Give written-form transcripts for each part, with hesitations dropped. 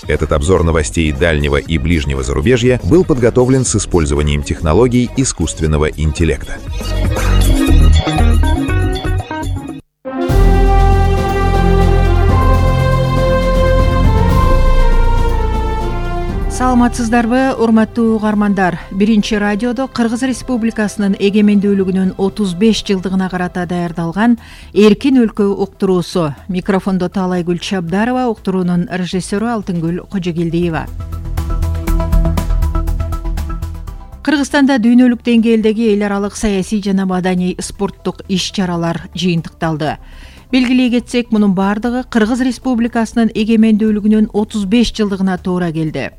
Этот обзор новостей дальнего и ближнего зарубежья был подготовлен с использованием технологий искусственного интеллекта. Саламатсыздарбы, урматтуу угармандар. Биринчи радиодо Кыргыз Республикасынын эгемендүүлүгүнүн 35 жылдыгына карата даярдалган Эркин өлкө уктуруусу. Микрофондо Таалайгүл Чабдарова, уктуруунун режиссеру Алтынгүл Кожогелдиева. Кыргызстанда дүйнөлүк деңгээлдеги эл аралык саясий жана маданий спорттук иш-чаралар жыйынтыкталды. Белгилей кетсек, мунун бардыгы Кыргыз Республикасынын эгемендүүлүгүнүн 35 жылдыгына туура келди.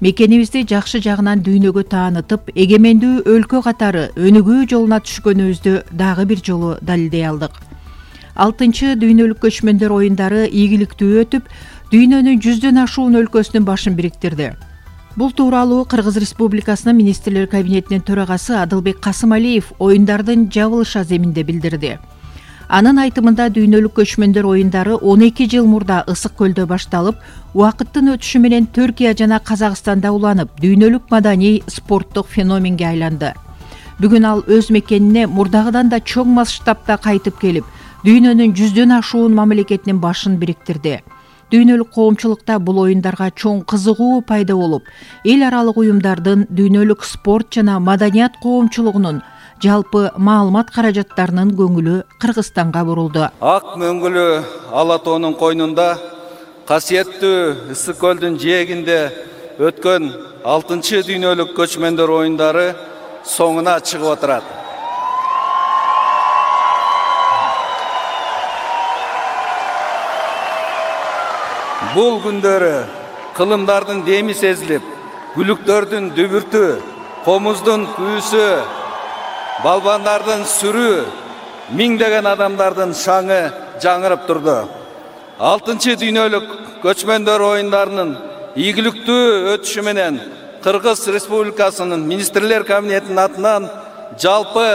Мекенибизди жакшы жагынан дүйнөгө таанытып, эгемендүү өлкө катары өнүгүү жолуна түшкөнүбүздү дагы бир жолу далилдей алдык. 6-чы дүйнөлүк көчмөндөр оюндары ийгиликтүү өтүп, дүйнөнүн 100дөн ашуун өлкөсүнүн башын бириктирди. Бул тууралуу Кыргыз Республикасынын министрлер кабинетинин төрагасы Адылбек Касымалиев оюндардын жабылыш аземинде билдирди. Анын айтымында дүйнөлүк көчмөндөр оюндары 12 жыл мурда Ысык көлдө башталып, убакыттын өтүшү менен Түркия жана Казакстанда уланып, дүйнөлүк маданий спорттук феноменге айланды. Бүгүн ал өз мекенине мурдагыдан да чоң масштабта кайтып келип, дүйнөнүн 100дөн ашуун мамлекетинин башын бириктирди. Дүйнөлүк коомчулукта бул оюндарга чоң кызыгуу пайда болуп, эл аралык уюмдардын дүйнөлүк спорт жана маданият коомчулугунун жалпы маалымат каражаттарынын көңүлү Кыргызстанга бурулду. Ак мөңгүлүү Ала тоонун койнунда касиеттүү Ысык көлдүн жээгинде өткөн 6-чы дүйнөлүк көчмөндөр оюндары соңуна чыгып отурат. Бул күндөрү кылымдардын деми сезилип, күлүктөрдүн дүбүртү, комуздун күүсү, балбандардын сүрүү, миңдеген адамдардын шаңы жаңырып турду. 6-чы дүйнөлүк көчмөндөр оюндарынын ийгиликтүү өтүшү менен Кыргыз Республикасынын министрлер кабинетинин атынан жалпы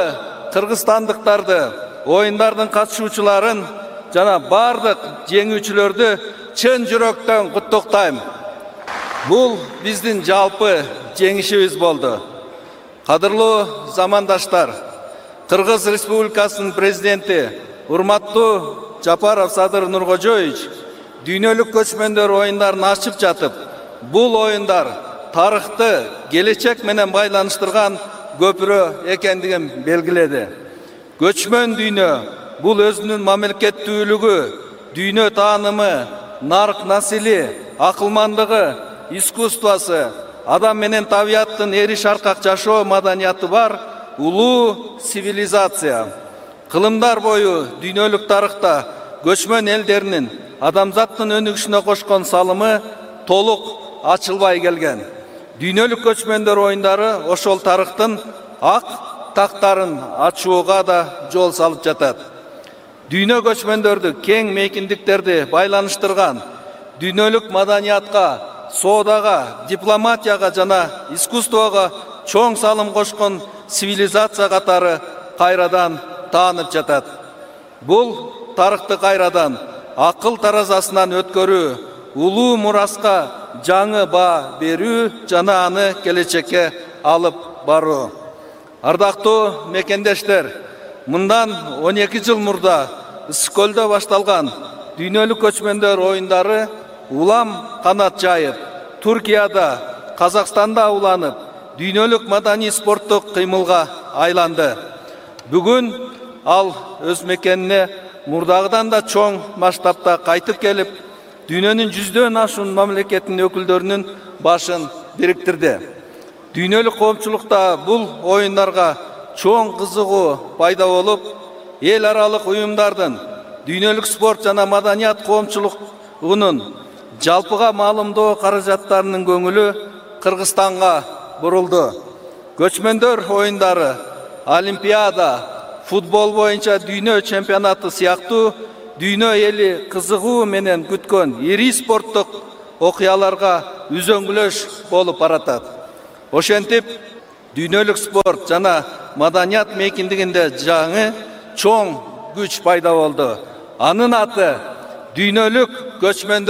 кыргызстандыктарды, оюндардын катышуучуларын жана бардык жеңүүчүлөрдү чын жүрөктөн куттуктайм. Бул биздин жалпы жеңишибиз болду. Кадырлуу замандаштар, Кыргыз Республикасынын президенти урматтуу Жапаров Садыр Нуркожоевич дүйнөлүк көчмөндөр оюндарын ачып жатып, бул оюндар тарыхты келечек менен байланыштырган көпүрө экендигин белгиледи. Көчмөн дүйнө бул өзүнүн мамлекеттүүлүгү, дүйнө таанымы, нарк насили, акылмандыгы, искусствосы, адам менен табияттын эри шаркак жашоо маданияты бар улуу цивилизация. Кылымдар бою дүйнөлүк тарыхта көчмөн элдеринин адамзаттын өнүгүшүнө кошкон салымы толук ачылбай келген. Дүйнөлүк көчмөндөр оюндары ошол тарыхтын ак тактарын ачууга да жол салып жатат. Дүйнө көчмөндөрдү кең мейкиндиктерди байланыштырган, дүйнөлүк маданиятка, соодага, дипломатияга жана искусствого чоң салым кошкон цивилизация катары кайрадан таанып жатат. Бул тарыхты кайрадан акыл таразасынан өткөрүү, улуу мураска жаңы баа берүү жана аны келечекке алып баруу. Ардактуу мекендештер, мындан 12 жыл мурда Ысык көлдө башталган дүйнөлүк көчмөндөр оюндары улам канат жайып, Түркияда, Казакстанда уланып, дүйнөлүк маданий спорттук кыймылга айланды. Бүгүн ал өз мекенине мурдагыдан да чоң масштабта кайтып келип, дүйнөнүн 100дөн ашуун мамлекетинин өкүлдөрүнүн башын бириктирди. Дүйнөлүк коомчулукта бул оюндарга чоң кызыгуу пайда болуп, эл аралык уюмдардын, дүйнөлүк спорт жана маданият коомчулугунун жалпыга маалымдоо каражаттарынын көңүлү Кыргызстанга бурулду. Көчмөндөр оюндары, Олимпиада, футбол боюнча дүйнө чемпионаты сыяктуу дүйнө эли кызыгуу менен күткөн ири спорттук окуяларга үзөңгүлөш болуп баратат. Ошентип, дүйнөлүк спорт жана маданият мейкиндигинде жаңы чоң күч пайда болду. Анын аты дүйнөлүк көчмөндөр